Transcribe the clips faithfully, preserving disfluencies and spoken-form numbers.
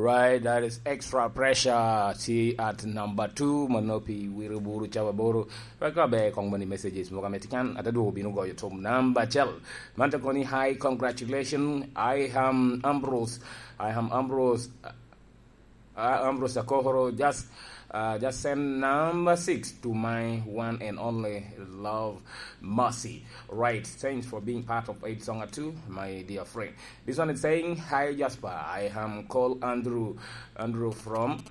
Right, that is Extra Pressure. Tye at number two, mano pi Wiriburu Cababoro. Wek abe kong moni messages mogo ame tye kan, ate dwogo bino goyo thum number acel. Man te koni, "Hi, congratulations. I am Ambrose. I am Ambrose. Uh, Ambrose Akohoro. Just, uh, just send number six to my one and only love, Mercy." Right, thanks for being part of Eight Song Two, my dear friend. This one is saying, "Hi, Jasper. I am called Andrew. Andrew from,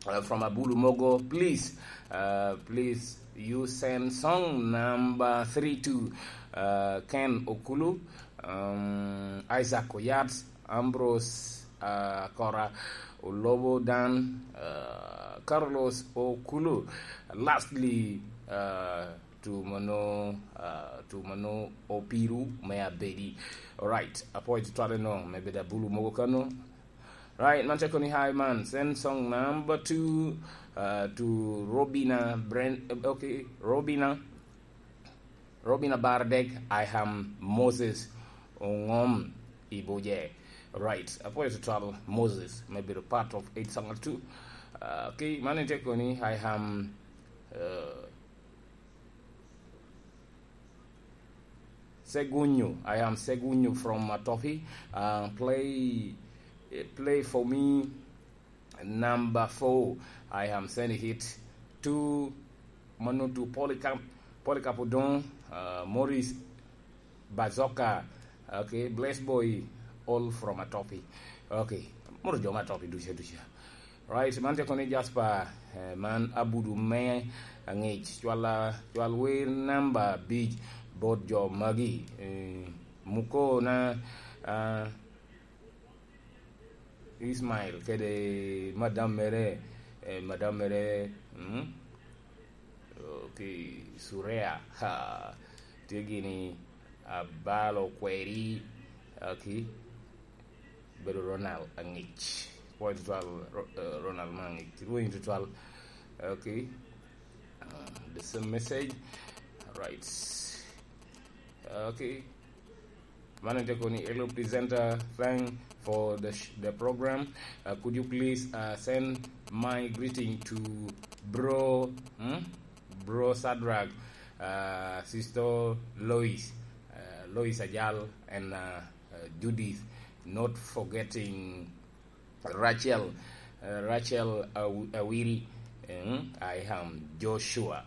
uh, from Abulu Mogo. Please, uh, please, you send song number three to, uh, Ken Okulu, um, Isaac Oyat, Ambrose, uh, Kora, Olobo Dan, uh, Carlos Okulu. Lastly, uh, to mano, uh, to mano Opiru me Abedi." Alright, apwoyo tutwal eno, me bedo Abulu Mogo kano. Right, man te koni, "Hi, man. Send song number two, uh, to Robina Brand, okay, Robina, Robina Bardek. I am Moses Ongom Ibuje." Right, apwoyo tutwal Moses, me bedo part of Eight Song Two. Uh, okay, man te koni, "I am, uh, Segunyo. I am Segunyo from Matopi. Uh, play, play for me number four. I am sending it to mano to Polycarp, Polycarp Odong, uh, Morris Bazoka. Okay, Bless Boy, all from Matopi." Okay, moro jo Matopi duca duca. Right, man te koni, "Jasper, eh, man Abudu me Angec. Cwal, cwal wer namba abic bot jo magi. Eh, Muko na, ah, Ismail kede madam mere, eh, madam mere, mm? Okay, Surea, ha, tye gini Abalo Kweri, okay, bedo Ronald Angec. Pwoyo tutwal, Ro-, eh, Ronald ma Angec. Rweny tutwal. Okay. Uh, the same message. Right. Okay. Man te koni, "Hello, presenter. Thank for the sh-, the program. Uh, could you please, uh, send my greeting to bro, hmm? Bro Shadrach, uh, sister Lois, uh, Lois Ajal, and, uh, uh, Judith, not forgetting Rachel, uh, Rachel Aw-, Awiri, eh, I am Joshua."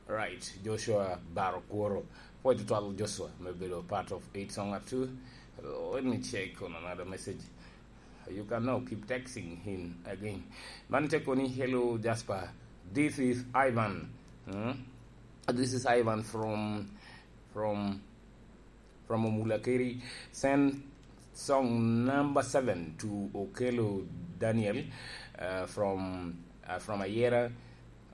Right, Joshua Barokworo. Pwoyo tutwal Joshua, me bedo part of Eight Song Two. Let me check on another message. You can now keep texting him again. Man te koni, "Hello, Jasper. This is Ivan. Hmm? This is Ivan from, from from Omulakeri. Send song number seven to Okello Daniel, uh, from, uh, from Ayera,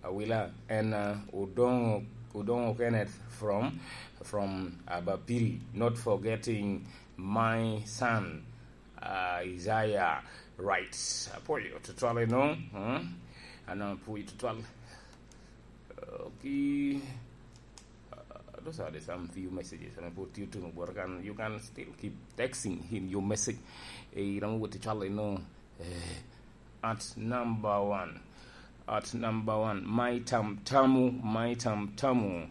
Awila, and, uh, Odongo, Odongo Kenneth from, from Abapiri. Not forgetting my son, uh, Isaiah." Right. Apwoyo tutwal eno, hmm? Ano apwoyo tutwal. Okay. Uh, those are the some few messages. And I put you to work, and you can still keep texting him your message. Eh, you know what to tell you know. Eh, at number one. At number one, my tam tamu, my tam tamu.